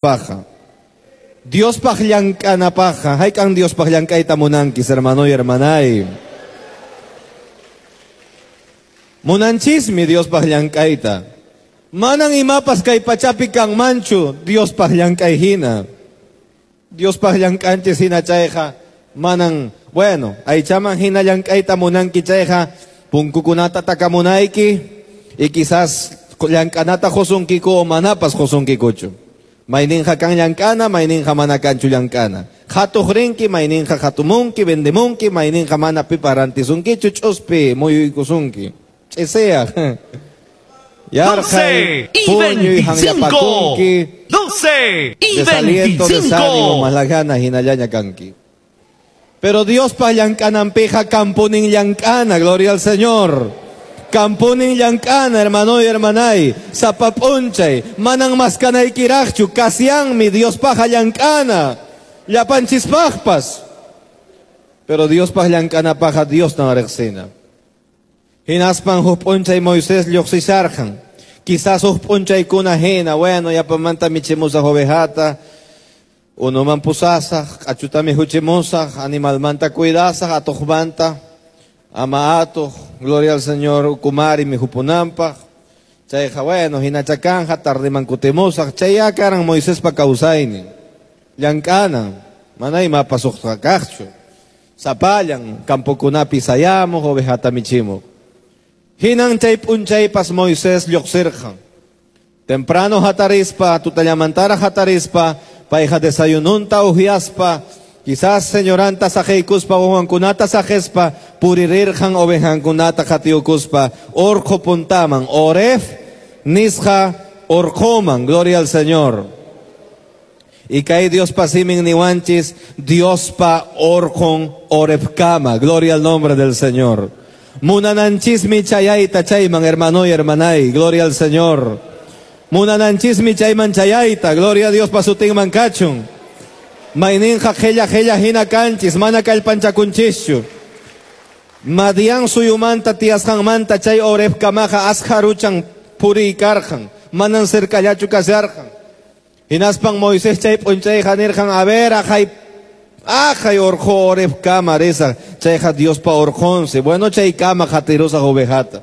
Paja. Diospaq llank'anapaqqa, hayk'an Diospaq llank'ayta munankis, hermano y hermanay? Munanchismi Diospaq llank'ayta. Manan imapas kay pachapi kanmanchu Diospaq llank'ay hina. Diospaq llank'anchis hina chayqa, manan, bueno, aychaman hina llank'ayta munanki chayqa, punkukunata takamunayki, y quizás llank'anata qusunkiku o manapas qusunkikuchu. Mayninqa kan llank'ana, mayninqa mana kanchu llank'ana. Qhatuq rinki, mayninqa qhatumunki, vendemunki, mayninqa mana pipas rantisunkichu, ch'uspi muyuykusunki. Ch'isiyaq. Yarqhay, 12 y puñuy, 25. hanllapakunki. 12 y Desaliento, desánimo, 25. mas la gana hinallaña kanki. Pero Diospaq llank'ananpiqa kanpunin llank'ana, gloria al Señor. Kanpunin llank'ana, hermano y hermanay. Sapa p'unchay, manan maskanaykiraqchu, kasyanmi Diospaqqa llank'ana. Llapanchispaqpas. Pero Diospaq llank'anapaqqa Diostan riqsina. Hinaspan huk p'unchay Moisés lluqsisharqan. Quizás huk p'unchaykuna hina, bueno, yapamanta michimusaq ovejata, unuman pusasaq, q'achuta mikhuchimusaq, animalmanta cuidasaq, atuqmanta, ama atuq, gloria al Señor, ukumari mikhupunanpaq. Chayqa, bueno, hinacha kanja, tardiman kutimusaq, chayya karan Moisespa kawsaynin. Llank'anan, mana imapas uqqa kaqchu. Sapallan, campokunapi sayamuq, ovejata michimuq. Hinan chay p'unchaypas Moisés lluqsirqan. Temprano hatarispa, tutallamantara hatarispa, payqa desayununta uhyaspa, quizás señoranta saqeykuspa, wawankunata saqespa, puririrqan ovejankunata qatiyukuspa, orqo puntaman, Oref nisqa orqoman, gloria al Señor. Y kay Diospa simin niwanchis, Diospa orqon Orefkama, gloria al nombre del Señor. Munananchismi chayayta chayman, hermano y hermanay, gloria al Señor. Munananchismi chayman chayayta, gloria a Dios pa sutinman kachun. Mayninqa qhella qhella hina kanchis, mana kallpanchakunchischu. Madian suyumanta tiyasqanmanta chay Orefkamaqa askharuchan puriykarqan, manan cercallachu kasharqan. Hinaspan Moisés chay p'unchayqa nirqan, a ver, aqhay, aqhay orqo Orefkama risaq, chayqa Diospa orqonsi. Bueno, chaykama qatirusaq ovejata.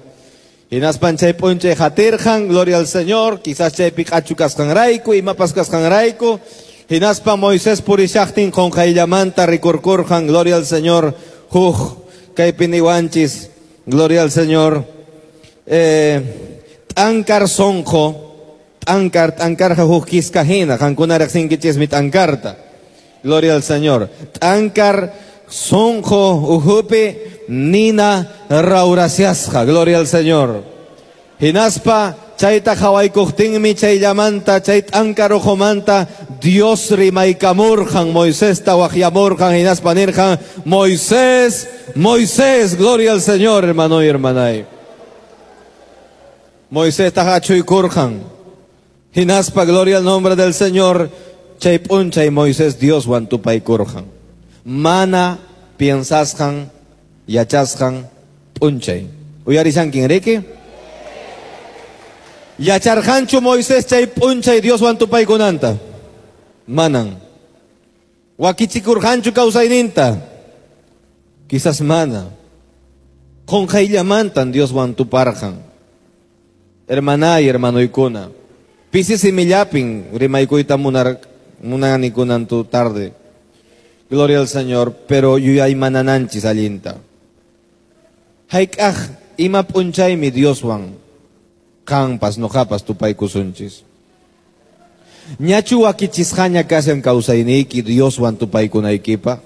Hinaspan chay p'unchay qatirqan, gloria al Señor, quizás chaypi q'achu kasqanrayku, imapas kasqanrayku. Hinaspan Moisés purishaqtin qunqayllamanta rikurkurqan, gloria al Señor, huk kaypi niwanchis, gloria al Señor. T'ankar sonqo, t'ankar, t'ankarqa huk kiska hina, qankuna riqsinkichismi t'ankarta. Gloria al Señor. T'ankar sonqo ukhupi nina rawrasiasqa, gloria al Señor. Hinaspa chayta qhawaykuqtinmi chayllamanta, chay t'ankar ukhumanta Dios rimaykamurqan, Moisesta waqyamurqan, hinaspa nirqan, Moisés, Moisés, gloria al Señor, hermano y hermanay. Moisés achuykurqan. Hinaspa, gloria al nombre del Señor, chay p'unchay Moisés Dioswan tupaykurqan. Mana piensasqan, yachasqan p'unchay. Uyarishanki, riki? Yacharqanchu Moisés chay p'unchay Dioswan tupaykunanta? Manan. Wakichikurqanchu kawsayninta? Quizás mana. Qunqayllamantan Dioswan tuparqan. Hermanay, hermanoykuna. Pisi simillapin rimaykuyta munani kunan tu tarde. Gloria al Señor, pero yuyaymanananchis allinta. Hayk'aq ima p'unchaymi Dioswan qanpas noqapas tupaykusunchis. Ñachu wakichisqaña kashan kawsayniyki Dioswan tupaykunaykipaq?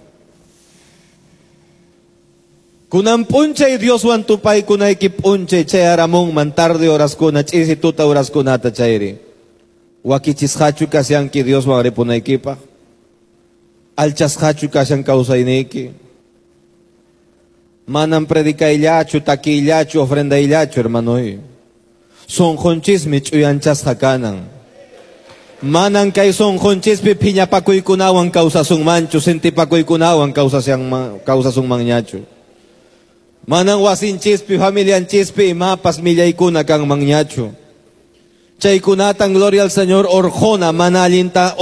Kunan p'unchay Dioswan tupaykunayki p'unchay chayaramunman tarde horaskuna, ch'isi tuta horaskunata chayri. Wakichisqachu kashanki Dioswan ripunaykipaq? Alchasqachu kashan kawsayniyki? Manan predicayllachu, takiyllachu, ofrendayllachu, hermanoy. Sunqunchismi ch'uyanchasqa kanan. Manan kay sunqunchispi phiñapakuykunawan kawsasunmanchu, sintipakuykunawan kawsasunmanñachu. Manan wasinchispi, familianchispi imapas millaykuna kanmanñachu. Chaykunatan, gloria al Señor, orqona, mana allinta.